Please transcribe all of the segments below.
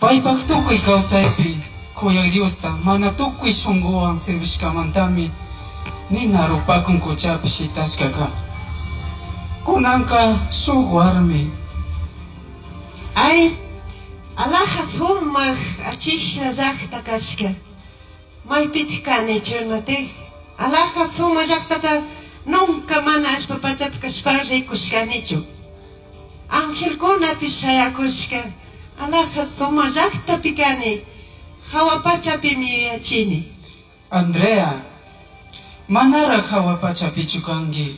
Paipaj tucui causaipi C'uyaj Diosta mana tucui shunguhuan servishcamantami nina rupacun cuchapi shitashca can. Cunanca shuj huarmi. Ay, alaja sumaj achijlla llajta cashca. Maipitaj canichu imati? Alaja sumaj llajtata nunca mana allpa pachapi cashpa ricushcanichu. Angelcunapish shayacushca. Alaja sumaj llajtapi cani. Jahua pachapimi yuyachini. Andrea, manaraj jahua pachapichu cangui.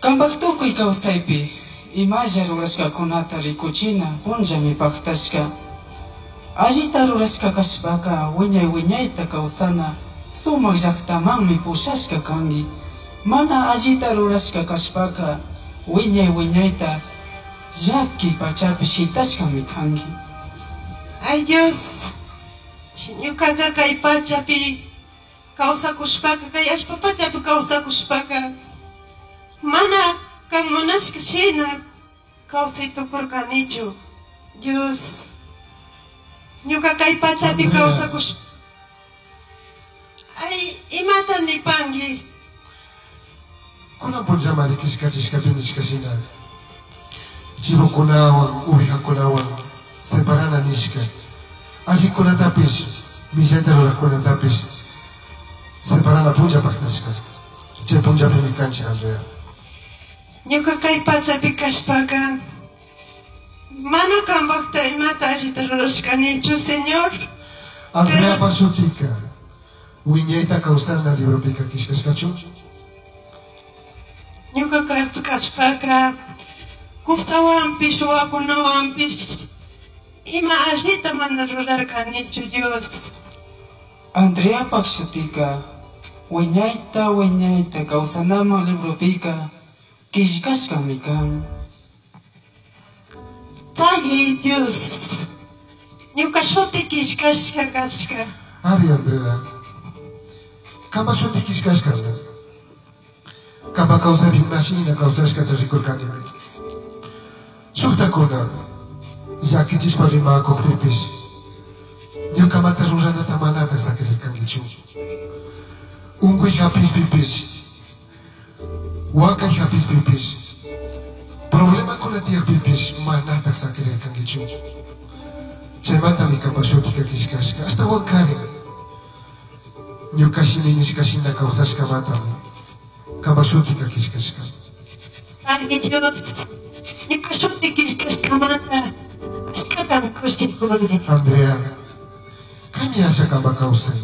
Cambaj tucui causaipi imalla rurashcacunata ricuchina punllami pajtashca. Allita rurashca cashpaca huiñai huiñaita causana sumaj llajtamanmi pushashca cangui. Mana allita rurashca cashpaca huiñai huiñaita llaqui pachapi shitashcami cangui. Ay Dios, ñucaca cai pachapi causacushpaca, cai allpa pachapi causacushpaca, mana can munashca shina causai tucurcanichu. Dios, ñuca cai pachapi Andrea. causacush. Ay, imata nipangui. Cunan punllamari quillcachishcapi nishca shina chivocunahuan, ovejacunahuan separana nishca. Allicunatapish, millaita rurajcunatapish separana punlla pajtashca. Chai punllapimi canchij, Andrea. Ñuca cai pachapi cashpaca, mana cambajta imata allita rurashcanichu, Señor. Andreapaj shutica huiñaita causana libropica quillcashcachu? Ñuca caipi cashpaca, cusahuanpish, huahuacunahuanpish ima allita mana rurarcanichu, Dios. Andreapaj shutica huiñaita huiñaita causanaman libropica quillcashcami can. Pagui, Dios. Ñuca shuti quillcashca cashca. Ari, Andrea. Cambaj shuti quillcashcami. Cambaj causaipi ima shina causashcata ricurcanimi. Shujtajcuna llaquichishpa rimacujpipish ñucamanta ruranata manataj saquirircanguichu. Ungüi japijpipish, huacai japijpipish, problemacuna tiyajpipish manataj saquirircanguichu. Chaimantami cambaj shutica quillcashca. Ashtahuancarin ñuca shimi nishca shina causashcamantami cambaj shutica quillcashca. Pagui, Dios. Ñuca shuti quillcashcamanta achcatami cushicuni. Andrea, caimi asha cambaj causai.